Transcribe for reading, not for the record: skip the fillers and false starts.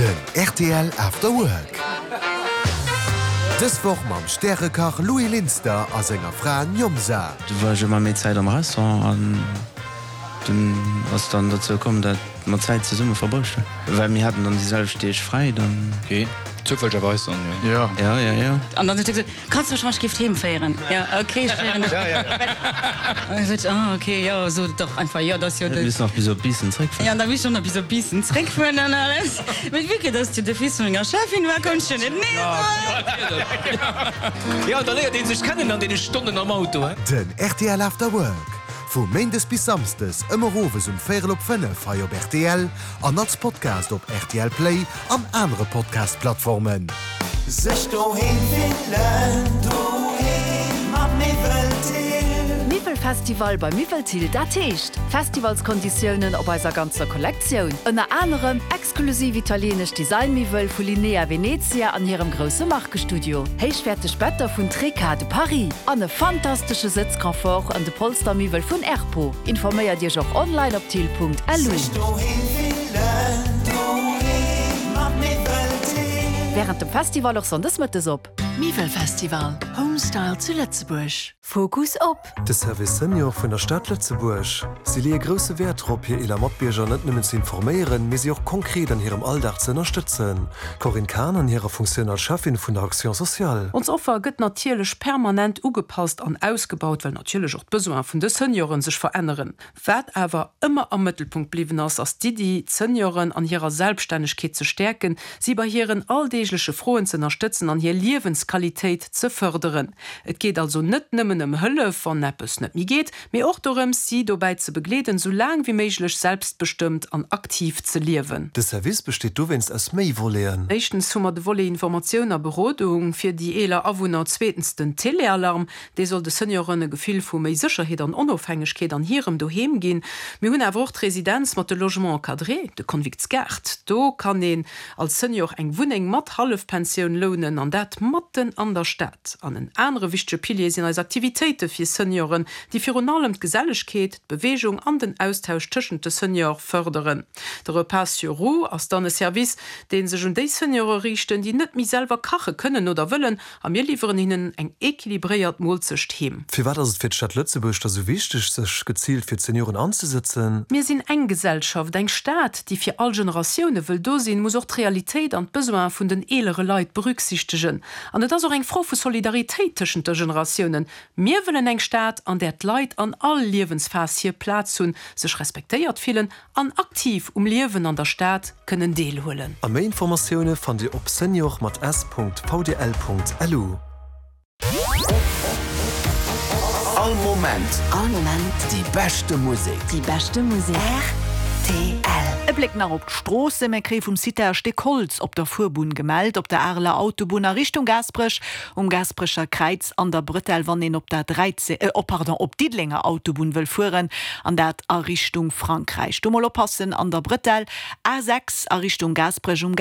Den rtl After Work. Dës Woch mam Stärekach Louis Linster a senger Fra Njomsa. Du war ech ëmmer méi Zäit am Restaurant an dunn ass dann dozou komm, dat mer Zäit zesumme verbruecht hunn, well mir haten dann déi selwecht Deeg fräi dann. Ok, zoufällegerweis dann, jo. Jo, jo, jo. An dann huet e gesot, Kanns du mech wann ech giff heem féieren? Jo, ok, ech féieren dech. An da sot ech, ah ok, jo, sot et dach einfach, jo, dat ass jo de. Missen nach bis op Biissen zréckfueren. Jo, an da misst ech och nach bis op Biissen zréckfueren an alles. Mee vue que dass du de Fils vun menger Cheffin war, konnt ech jo net nee soen. Jo, da léiert ee sech kennen an deene Stonnen am Auto, he. Den rtl After Work, vu Méindes bis Samsdes ëmmer owes um véierel op 5 hei op rtl an als Podcast op rtl Play an anere Podcast-Plattformen. Sech doheem fillen, doheem mat Miwwel Thill. Miwwelfestival bei Miwwel Thill, dat heescht Festivalskonditiounen op eiser ganzer Kollektioun. Ënner anerem exklusiv italienesch Designmiwwel vu Linea Venezia an hirem grousse Markestudio, héichwäerteg Better vun Treca de Paris an e fantastesche Sëtzconfort an de Polstermiwwel vun Erpo. Informéiert Iech och online op thill.lu. Sech doheem fillen, doheem mat Miwwel Thill. Wärend dem Festival och sonndes mëttes op. Miwwelfestival, Home Style zu Lëtzebuerg. Fokus op. De Service Senior vun der Stad Lëtzebuerg. Si leeë grousse Wäert drop, hir eeler Matbierger net nëmmen ze informéieren, mee si och konkret an hirem Alldag ze ënnerstëtzen. D'Corinne Cahen an hirer Funktioun als Cheffin vun der Action sociale. Ons Offer gëtt natierlech permanent ugepasst an ausgebaut, well natierlech och d'Besoine vun de Senioren sech veränneren. Wat awer ëmmer am Mëttelpunkt bliwwen ass, ass d'Iddi, d'Senioren an hirer Selbststännegkeet ze stäerken, si bei hiren alldeegleche Froen ze ënnerstëtzen an hir Liewensqualitéit ze fërderen. Et geet also net nëmmen ëm Hëllef, wann eppes net méi geet, mee och dorëms, si dobäi ze begleeden, sou laang wéi méiglech selbstbestëmmt an aktiv ze liewen. De Service besteet dowéinst aus méi Voleten. Éischtens hu mer de Volet Informatioun a Berodung fir déi eeler Awunner, zweetens den Telealarm, Dee soll de Senioren e Gefill vu méi Sécherheet an Onofhängegkeet an hirem Doheem ginn. Mir hunn awer och d'Residenz mat de Logements encadrés, de Konviktsgaart. Do kann een als Senior eng Wunneng mat Hallefpensioun lounen, an dat matten an der Stad. An en anere wichtege Pilier sinn eis Aktivitéite fir Senioren, déi virun allem d'Gesellegkeet, d'Beweegung an den Austausch tëschent de Seniore fërderen. De Repas sur roues ass dann e Service, dee sech un déi Seniore riichten, déi net méi selwer kache kënnen oder wëllen A mir liwweren hinnen eng equilibréiert Moolzecht heem. Firwat ass et fir d'Stad Lëtzebuerg da sou wichteg, sech geziilt fir d'Senioren anzesëtzen? Mir sinn eng Gesellschaft, eng Stad, déi fir all Generatioune wëll do sinn, muss och d'Realitéit an d'Besoine vun den eelere Leit berücksichtegen. An et ass och eng Fro vu Solidaritéit tëschent de Generatiounen. Mir wëllen eng Stad, an där d'Leit an all Liewensphas hir Plaz hunn, sech respektéiert fillen An aktiv um Liewen an der Stad kënnen deelhuelen. A méi Informatioune fannt Dir op senior mat s Punkt vdl Punkt lu. All Moment. All Moment. Déi beschte Musek. Déi beschte Musek. Rtl. E Bléck nach op d'Stroossen, Mir kréie vum Cita e Stéck Holz op der Fuerbunn gemellt, op der Areler Autobunn a Richtung Gaasperech, um Gaasperecher Kräiz an der Bretelle, wann een op der 13, oh pardon, op d'Diddelenger Autobunn wëll fueren, an dat a Richtung Frankräich. Do mol oppassen an der Bretelle, A 6 a Richtung Gaasperech um.